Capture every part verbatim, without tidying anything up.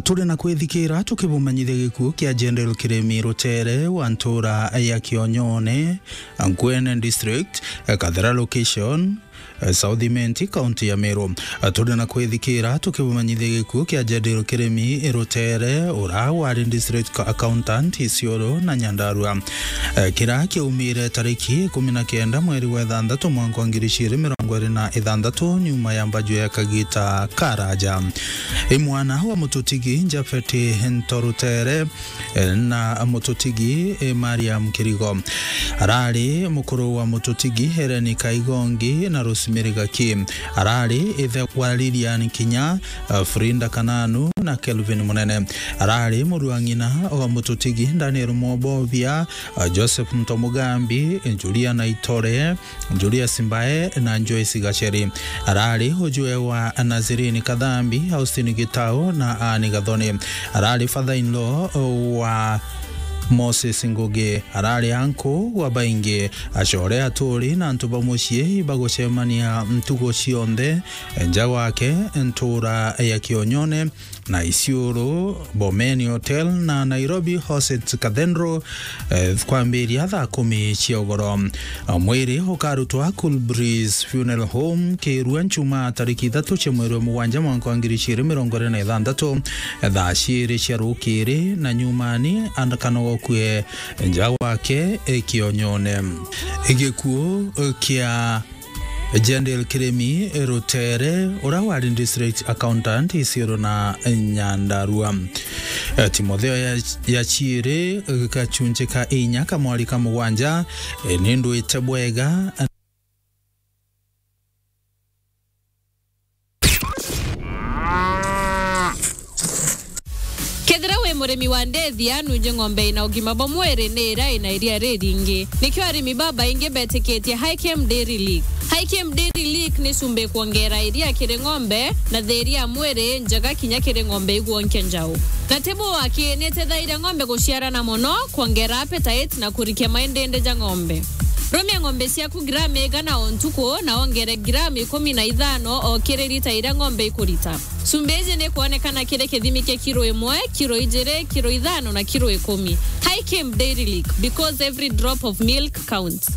Turi na kwithikira tukibumanyithia gikuo kia General Kirimi Rutere wa ntura ya Kionyone, Ngwene District, Kathera Location, South Imenti, kaunti ya Meru. Turi na kwithikira tukibumanyithia gikuo kia General Kirimi Rutere, ura wari District Accountant Isiolo na Nyandarua. Eh, kira kiaumire tariki ikumi na kenda mweri wa ithanthatu mwanka wa ngiri igiri mirongo iri na ithanthatu, nyuma ya mbaju ya kagita karaja. I mwana wa mututigi Japhet Ntorutere, eh, na mututigi, eh, Mariam Kirigo. Arari mukuru wa mututigi Helen Kaigongi na Rosemary Gaki. Arari ithe wa Lilian Kinya, eh, Frinda Kananu na Kelvin Munene. Arari muru wa ng'ina wa mututigi Daniel Mwobobia, Joseph Mtomugambi, Julia Naitore, Julius Mbae na Joyce Gacheri. Arari ujwe wa Nazirini Kathambi, Austin Gitau na Anne Gathoni. Arari father-in-law wa Moses Ngugi. Arari anku wa baingi, acore, aturi na antu ba mucii bagucemania ntugu cionthe nja gwake ntura ya Kionyone na Isiolo, Bomeni Hotel na Nairobi Hoset Cathedral, eh, kwambiria thaa kumi cia ugoro. Mwiri ukarutwa Cool Breeze Funeral Home Kirua Nchuma tariki ithatu cia mweri wa mugwanja mwanka wa ngiri igiri mirongo iri na ithanthatu, thaa ciiri cia rukiri na nyumani andakanogokue nja gwake, eh, Kionyone. Gikuo, eh, kia Jendel Kirimi Rutere, ura wari district accountant Isiolo na Nyandarua. Eh, Timotheo ya, ya Chiiri, eh, gachunchi ka inya ka mwari ka mugwanja, eh, nindwite bwega. Kethira wi murimi wa ndethia, nunje ng'ombe ina ugima bwa mwiri ni iria ina iria riringi. Nikio arimi babaingi betikitie Hikem Dairy Lick. Hikem Dairy Lick ni cumbi kwongera iria kiri ng'ombe na thiria ya mwiri njega kinya kiri ng'ombe igwonkia njau. Na tibu waki ni itethairia ng'ombe guciarana mono, kwongera appetite na kurikia maindindi ja ng'ombe. Rumia ng'ombe ciaku gramu igana o ntuku na wongere gramu ikumi na ithano o kiri lita iria ng'ombe ikurita. Cumbi iji ni kwonekana kiri kithimi kia kiro imwe, kiro ijiri, kiro ithano na kiro ikumi. Hikem Dairy Lick, because every drop of milk counts.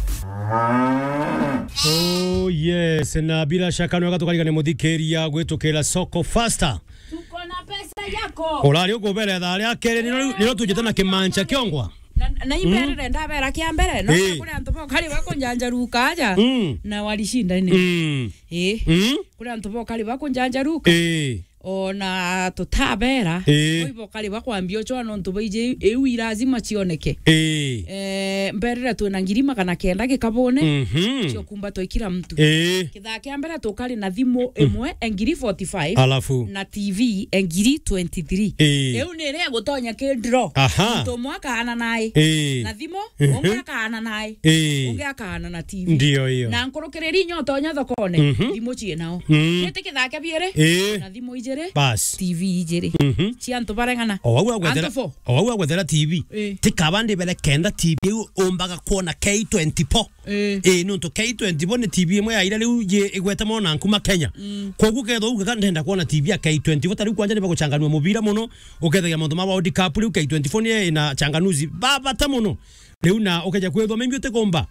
Oh yes, na bila shaka nwega tukarigane muthikiria gwitukira Soko Faster. Tuko na pesa yako. Urari ukubere thaa ria keri, niro, niro tujite na kimancha kiongwa. Na, na imberere ndabera kia mbere, no. Ii. Kuri antu bokari bakunjanjaruka aja, mm, na walishinda ine. Mm. Ii. Mm. Kuri antu bokari bakunjanjaruka. Ii. Ona tutabera, ii, bo ibokari bakwambia ucwa nontu baiji iu i lazima cioneke. Ii. Eh, mberere twina ngiri magana kenda gikabune, mhm, cio kumba twa kila mtu. Ii. Kithaa kia mbere tukari na thimu imwe engiri forty-five, alafu, na T V engiri twenty-three. Ii. Iu ni iria igutonya ki draw. Aha. Muntu umwe akaana nai. Ii. Na thimu, mhm, ungi akaana nai. Ii. Ungi akaana na T V. Ndio hiyo. Na nkurukiriri inya utonya thokone, mhm, thimu ciinao. Mm. Giti kithaa kia biiri, ii, na thimu ijiri, bas, T V ijiri. Mhm. Cia antu bareng'ana. O wau agwethera, antu four, o wau agwethera T V. Ii. Tikaba ndibere kenda T V iu umbaga kwona K twenty-four. Ii. Ii, nontu K twenty-four ni T V imwe ya iria riu ji-, igwete mono na nkuma Kenya. Mm. Koguo kethwa ugaga ndenda kwona T V ya K twenty-four, ta riu kwanja ni baguchanganua mubira mono, ukethagia mauntu ma World Cup, riu K twenty-four ni ina changanuzi ba bata mono. Riu na ukeja kwithwa maybe utikumba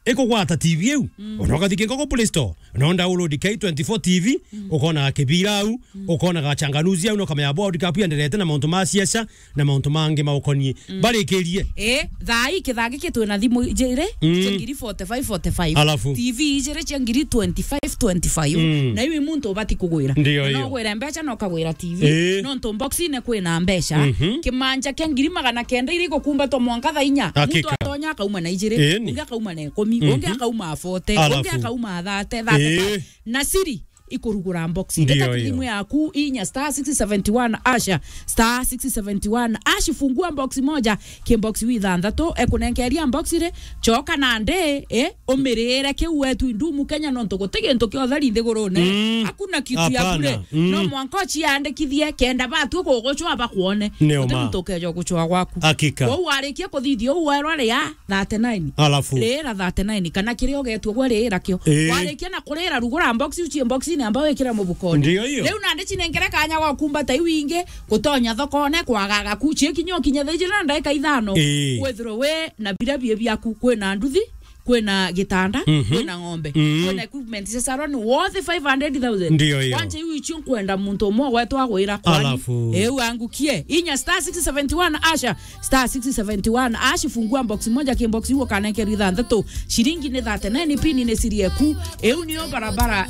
ikugwata T V iu, mm, ona ukathi kingo ku Play Store, no download K twenty-four T V, mm, ukonaga kibira au, mm, ukonaga changanuzi au, no kamenya World Cup yenderete na mauntu ma siasa, na mauntu mangi maukonie. Mm. Barikirie. Eh, thaa ii kithaa giki twina thimu ijiri, mm, cia ngiri forty-five, forty-five. Alafu? T V ijiri cia ngiri twenty-five, twenty-five. Mm. Na iu i muntu ubati kugwira. Ndio. Na hiyo. Ugwire mbeca na ukagwira T V. Eh. Nontu boxine kwina mbeca. Mhm. Kimanja kia ngiri magana kenda iri gukumbatwa mwanka thaa inya. Hakika. Muntu atonya akauma na ijiri, eni, ungi akauma na ikumi, mhm, ungi akauma forty, alafu? Ungi akauma thirty, thirty-five. Eh. Na siri ikurugura box. Ndio. Ita hiyo. Thimu yaku inya star six seventy one hash, star six seventy one hash, fungua box moja, ki box wi thanthatu, ekunenkeria box ri, choka na ndi, eh, umirire kiu wetu indumu Kenya, nontu guti gintu kia utheri nthigurune. Mm. Hakuna kitu ya bure. Hapana. Mm. No mwanka uciandikithie kenda batu kugucwa bakwone. Ni uma. Guti muntu ukeja gucwa gwaku. Hakika. Kwou warikia kuthithia uu werwa ria thirty-nine. Alafu? Riira thirty-nine, kana kiria ugetua gwe riira kio. Ii. Warikia na kuriira, rugura box, ucie box-ini namba wikire mubukoni. Ndio hiyo. Riu nandi cinenkere kanya gwa kumbata iu ingi, gutonya thokone, kwagaga ku, cikinya ukinye thaa ijiri na ndagika ithano. Ii. Withirwe wi na biria bie biaku, kwina nduthi, kwina gitanda, mhm, kwina ng'ombe, mm, kwina equipment cia salon, worth five hundred thousand. Ndio hiyo. Kwanja iu icio nkwenda muntu umwe gwetwa agwira kwani. Alafu. Eu angukie. Inya star six seventy one asha, star six seventy one ash, fungua box moja, ki box iu ukanenkerwa ithanthatu. Ciringi ni thirty nine, pini ni siri eku. Eu niyo barabara